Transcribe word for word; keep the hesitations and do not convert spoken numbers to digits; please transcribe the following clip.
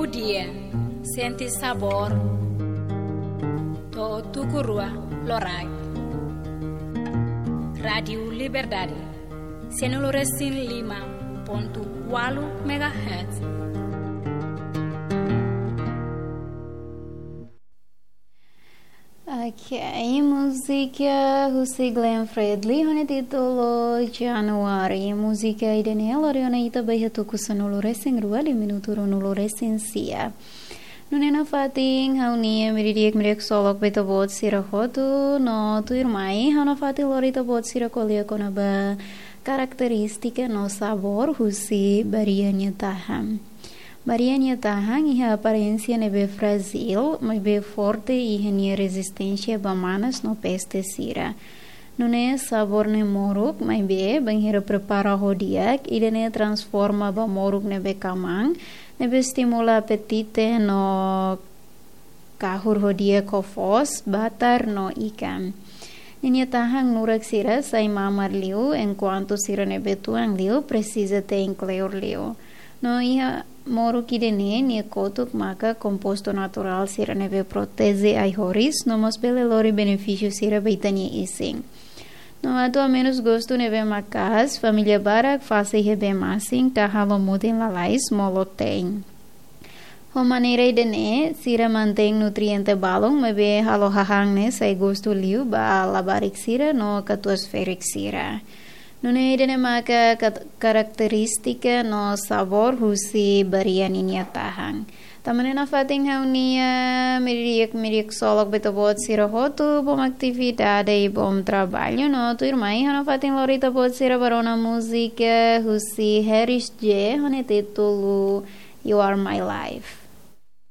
Dia, sente sabór, to'o tuku rua loraik. Rádiu Liberdade, sianulu resin lima pontu ualu megahertz. Ok, múzika husi Glenn Fredly, ho nia títulu January. Múzika ida-ne'e lori ona ita ba iha tuku sanulu resin rua, liu minutu ruanulu resin sia. Nune'e nafatin ha'u-nia miri di'ak, miri di'ak ksolok ba ita-boot sira hotu, no tuirmai ha'u nafatin lori ita-boot sira ko'alia kona-ba karakterístika no sabór husi barea nia tahan. Barea nia tahan iha aparénsia ne'ebé frájil, maibé forte iha nia rezisténsia ba manas no peste sira. Nune'e sabór ne'e moruk, maibé bainhira prepara ho di'ak, ida-ne'e transforma ba moruk ne'ebé kaman, ne'ebé estimula apetite no kahur ho di'ak ho foos, batar no ikan. Ninia tahan nurak sira sai mamar liu, enkuantu sira ne'ebé tuan liu presiza te'in kleur liu. No iha moruk ida-ne'e, nia kotuk maka kompostu naturál sira ne'ebé proteje ai-horis, no mós bele lori benefísiu sira ba ita-nia isin. No atu hamenus gostu ne'ebé maka'as, família barak fase iha bee-masin ka halo mutin lalais molok te'in. Ho maneira ida-ne'e, sira mantein nutriente balun, maibé halo hahán ne'e sai gostu liu ba labarik sira no katuas-ferik sira. Nune'e ida-ne'e maka kat-, karakterístika no sabór husi barea ninia tahan. Tanba ne'e nafatin ha'u-nia miri di'ak, miri di'ak ksolok ba ita-boot sira hotu, bom atividade i bom traballu, no tuirmai ha'u nafatin lori ita-boot sira ba rona múzika husi Harris J, ho nia títulu You Are My Life.